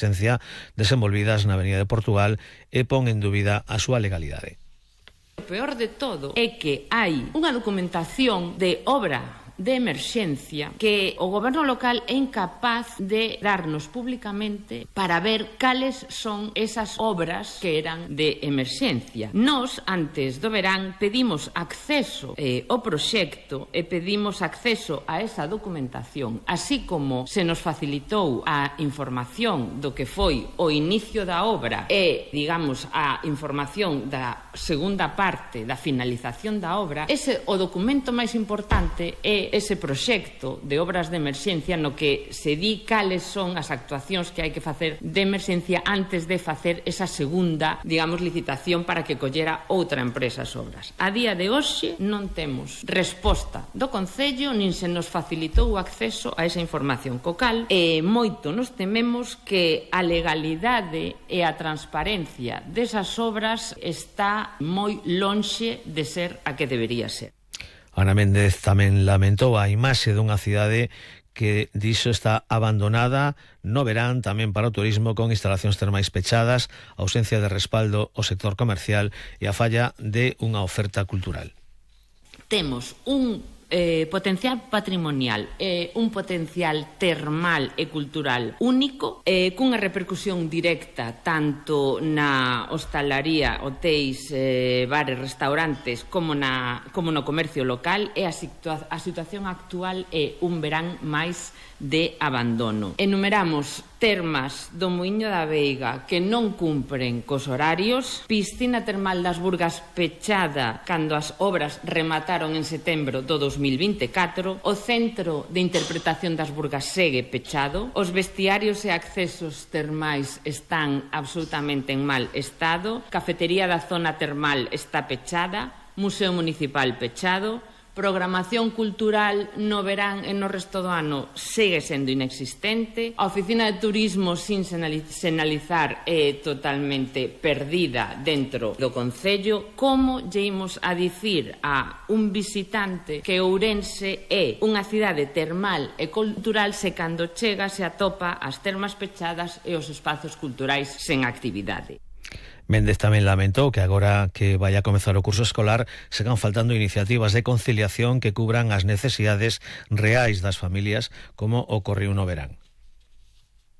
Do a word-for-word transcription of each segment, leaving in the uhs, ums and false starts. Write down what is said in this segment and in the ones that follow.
esencia desenvolvidas na Avenida de Portugal e pon en dúbida a súa legalidade. O peor de todo é que hai unha documentación de obra de emerxencia que o goberno local é incapaz de darnos públicamente para ver cales son esas obras que eran de emerxencia. Nós, antes do verán, pedimos acceso eh, ao proxecto e pedimos acceso a esa documentación, así como se nos facilitou a información do que foi o inicio da obra e, digamos, a información da segunda parte da finalización da obra. Ese o documento máis importante é ese proxecto de obras de emerxencia no que se di cales son as actuacións que hai que facer de emerxencia antes de facer esa segunda, digamos, licitación para que collera outra empresa as obras. A día de hoxe non temos resposta do Concello nin se nos facilitou o acceso a esa información, co cal e moito nos tememos que a legalidade e a transparencia desas obras está moi lonxe de ser a que debería ser. Ana Méndez tamén lamentou a imaxe dunha cidade que dixo está abandonada no verán tamén para o turismo, con instalacións termais pechadas, ausencia de respaldo ao sector comercial e a falla de unha oferta cultural. Temos un Eh, potencial patrimonial e eh, un potencial termal e cultural único, eh, cunha repercusión directa tanto na hostalaría, hotéis, eh, bares, restaurantes como, na, como no comercio local, e a, situa a situación actual é un verán máis de abandono. Enumeramos termas do Muíño da Veiga que non cumpren cos horarios, piscina termal das Burgas pechada cando as obras remataron en setembro do dos mil vinte e catro, o centro de interpretación das Burgas segue pechado, os vestiarios e accesos termais están absolutamente en mal estado, cafetería da zona termal está pechada, museo municipal pechado, programación cultural no verán e no resto do ano segue sendo inexistente, a oficina de turismo sin sinalizar é totalmente perdida dentro do Concello. Como lle imos a dicir a un visitante que Ourense é unha cidade termal e cultural se cando chega se atopa as termas pechadas e os espazos culturais sen actividade? Méndez tamén lamentou que agora que vai a comezar o curso escolar sigan faltando iniciativas de conciliación que cubran as necesidades reais das familias, como ocorreu no verán.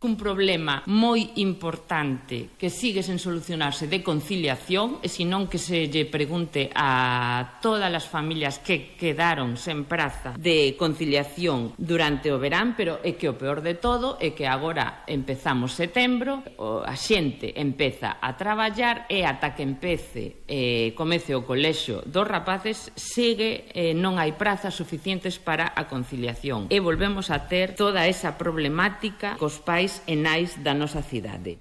Un problema moi importante que sigue sen solucionarse de conciliación, e senón que se lle pregunte a todas as familias que quedaron sen praza de conciliación durante o verán, pero é que o peor de todo é que agora empezamos setembro, a xente empeza a traballar e ata que empece e comece o colexio dos rapaces sigue eh, non hai prazas suficientes para a conciliación e volvemos a ter toda esa problemática cos pais e nais da nosa cidade.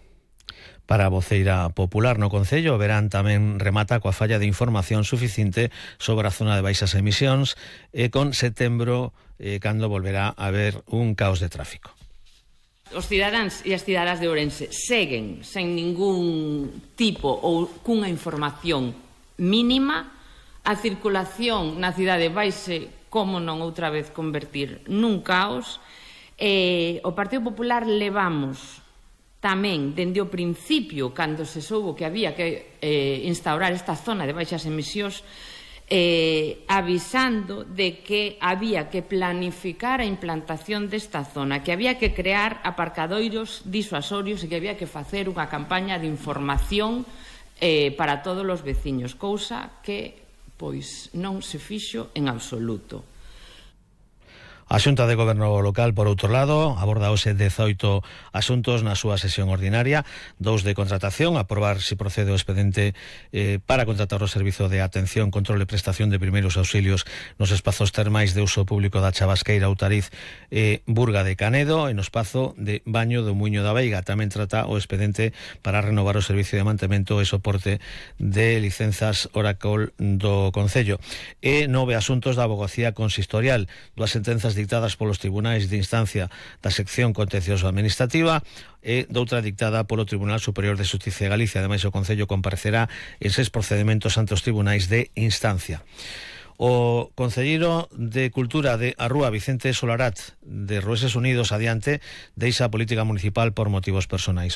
Para a voceira popular no Concello, o verán tamén remata coa falla de información suficiente sobre a zona de baixas emisións e con setembro eh, cando volverá a haber un caos de tráfico. Os cidadáns e as cidadás de Ourense seguen sen ningún tipo ou cunha información mínima. A circulación na cidade vaise, como non outra vez, convertir nun caos. Eh, o Partido Popular levamos tamén dende o principio, cando se soubo que había que eh, instaurar esta zona de baixas emisións, eh, avisando de que había que planificar a implantación desta zona, que había que crear aparcadoiros disuasorios e que había que facer unha campaña de información eh, para todos os veciños, cousa que pois non se fixo en absoluto. A Xunta de Goberno Local, por outro lado, aborda hoxe dezoito asuntos na súa sesión ordinaria, dous de contratación, aprobar se procede o expedente eh, para contratar o servizo de atención, control e prestación de primeiros auxilios nos espazos termais de uso público da Chavasqueira, Outariz e Burga de Canedo, e no espazo de baño do Muíño da Veiga. Tamén trata o expedente para renovar o servicio de mantemento e soporte de licenzas Oracle do Concello. E nove asuntos da abogacía consistorial, dúas sentenzas dictadas polos tribunais de instancia da sección contencioso administrativa e doutra dictada polo Tribunal Superior de Xustiza de Galicia. Ademais, o Concello comparecerá en seis procedementos ante os tribunais de instancia. O concelleiro de Cultura de Arrúa, Vicente Solarat, de Roeses Unidos, adiante, deixa a política municipal por motivos personais.